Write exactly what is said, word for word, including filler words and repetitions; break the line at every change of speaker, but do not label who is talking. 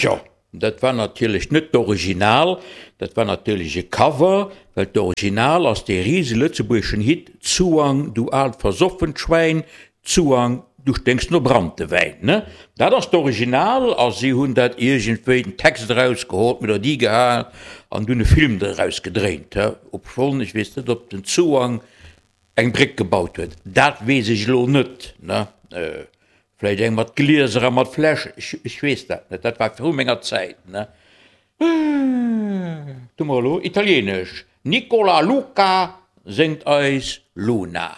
Tjo, dat war natierlech net d'Original, dat war natierlech e Cover, well d'Original ass dee rise lëtzebuergeschen Hit Zuang, du aalt versoffent Schwäin, Zuang, du sténks no Branntewäin. Ne? Dat ass d'Original a si hunn dat iergendwéi den Text erausgeholl, d'Melodie gehaen an dunn e Film doraus gedréint. Obschonn, ech weess net, ob den Zuang eng Bréck gebaut huet, dat weess ech elo net, ne? Vläicht eng mat Glieser a mat Fläsch, ech, ech weess dat net, dat war viru menger Zäit, ne? Tu mer elo Italieenesch, Nicola Luca séngt eis Luna.